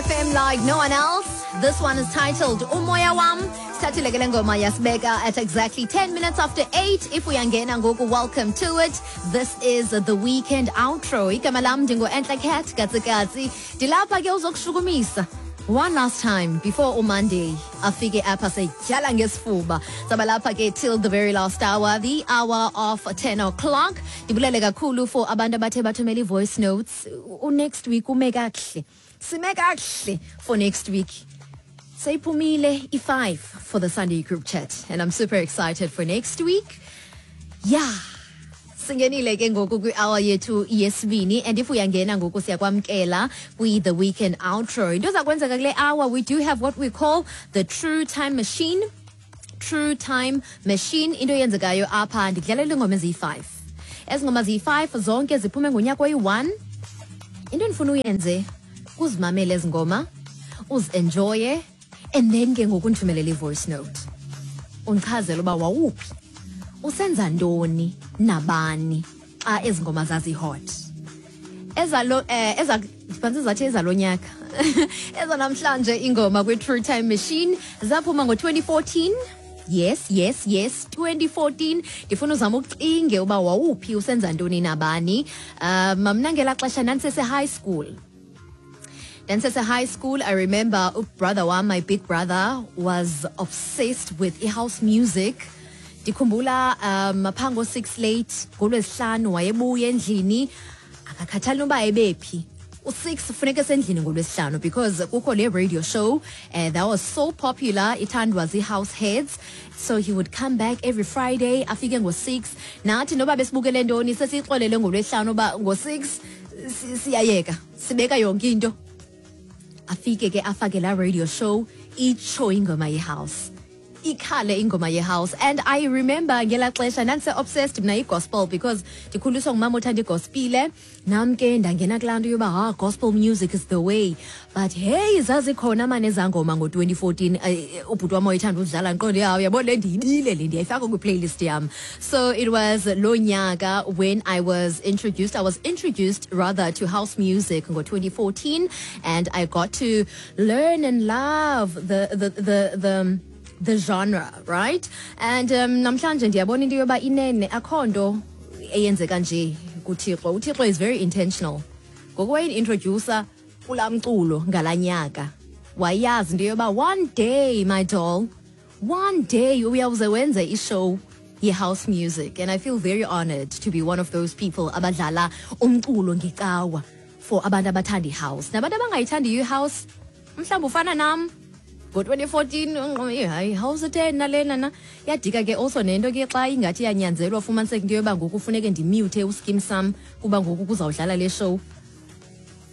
FM like no one else. This one is titled Umoya Wam. Sithathile ke le ngoma yasibeka at exactly 10 minutes after 8. If uyangena ngoku, welcome to it. This is the weekend outro. Igama lam ndingu-Entle Cat Katsikatsi. Ndilapha ke uzokushukumisa. One last time before uMonday afike apha setyhala ngesifuba. Saba lapha ke till the very last hour, the hour of 10 o'clock. Ndibulele kakhulu for abantu abathe bathumela i-voice notes. Next week ume kakuhle. Sime kakuhle for next week. Seyiphumile i-5 for the Sunday group chat and I'm super excited for next week. Yeah. Singenile ke ngoku kwi-hour yethu yesibini, and if uyangena ngoku, siyakwamkela kwi-the weekend outro. Into eza kwenzeka kule hour, we do have what we call the true time machine. True time machine, into eyenzekayo apha, ndikudlalela iingoma eziyi-5. Ezi ngoma ziyi-5 zonke ziphume ngonyaka oyi-1. Into endifuna uyenze kuzimamele ezi ngoma, uzi-enjoye, and then ke ngoku ndithumelele i-voice note undichazele uba wawuphi, usenza ntoni, nabani xa ezi ngoma zazi-hot. Ezalo eza phantsi zathi ezalo nyaka, ezanamhlanje ingoma kwi-true time machine zaphuma ngo-2014. Yes, 2014. Ndifuna uzama ucinge uba wawuphi, usenza ntoni, nabani. Mna ngelaa xesha ndandisese-high school. Ndandisese-high school. I remember ubrother wam, my big brother, was obsessed with i-house music. Ndikhumbula phaa ngo-6 late ngolwesihlanu wayebuya endlini, akakhathali noba ebephi, u-6 funeka esendlini ngolwesihlanu because kukho le radio show that was so popular, ithandwa zii-house heads. So he would come back every Friday, afike ngo-6. Nathi noba besibukele ntoni, sesiyixolele ngolwesihlanu uba ngo-6 siyayeka, sibeka yonke into. Afike ke afake laa radio show, itsho ingoma yehouse, ikhale ingoma yehouse. And I remember ngelaa xesha ndandise-obsessed mna yigospel because ndikhuliswa ngumama othanda igospile. Nam ke ndangena kulaa nto yoba, ha, gospel music is the way. But hey, zazikhona mane ezaa ngoma ngo-2014. Ubhuti wam wayethanda udlala, ndiqonde, yaw, uyabona le ndiyibile, le ndiyayifaka kwiplaylist yam. So it was loo nyaka when I was introduced, I was introduced rather to house music ngo-2014, and I got to learn and love the genre, right? And namhlanje ndiyabona into yoba inene akho nto eyenzeka nje kuThixo. UThixo is very intentional. Ngoku wayendi-introducer kulaa mculo ngalaa nyaka, wayazi into yoba one day, my doll, one day uyawuze wenze ishow ye-house music. And I feel very honored to be one of those people abadlala umculo ngecawa for abantu abathanda i-house nabantu abangayithandiyo i-house. Mhlawumbi ufana nam ngo-2014, hayi, house etheni nalena na yadika ke. Also nento ke xa ingathi iyanyanzelwa, fumaniseke into yoba ngoku funeke ndimute uSkeem Saam kuba ngoku kuzawudlala le show.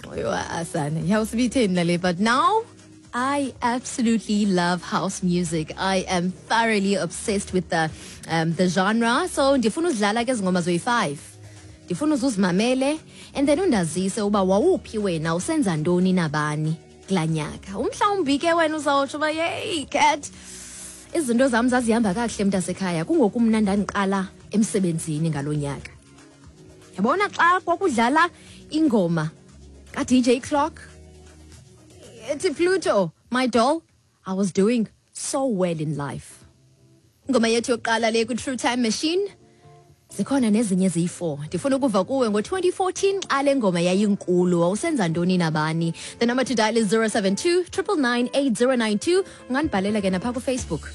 Oyo, asana, ihouse ibitheni nale? But now I absolutely love house music. I am thoroughly obsessed with the genre. So ndifuna uzidlala ke ezi ngoma zoyi-5. Ndifuna uzuzimamele and then undazise uba wawuphi wena, usenza ntoni, nabani kulaa nyaka. Umhlawumbi ke wena uzawutsho uba, yeyi Cat, izinto zam zazihamba kakuhle mntasekhaya, kungoku mna ndandiqala emsebenzini ngalo nyaka. Yabona xa kwakudlala ingoma ka-DJ Clock ethi Pluto, my doll, I was doing so well in life. Ingoma yethu yokuqala le kwi-True Time Machine, zikhona nezinye eziyi-4. Ndifuna ukuva kuwe ngo-2014 xa le ngoma yayinkulu, wawusenza ntoni, nabani? The number to dial is 072 999 8092. Ungandibhalela ke napha kuFacebook.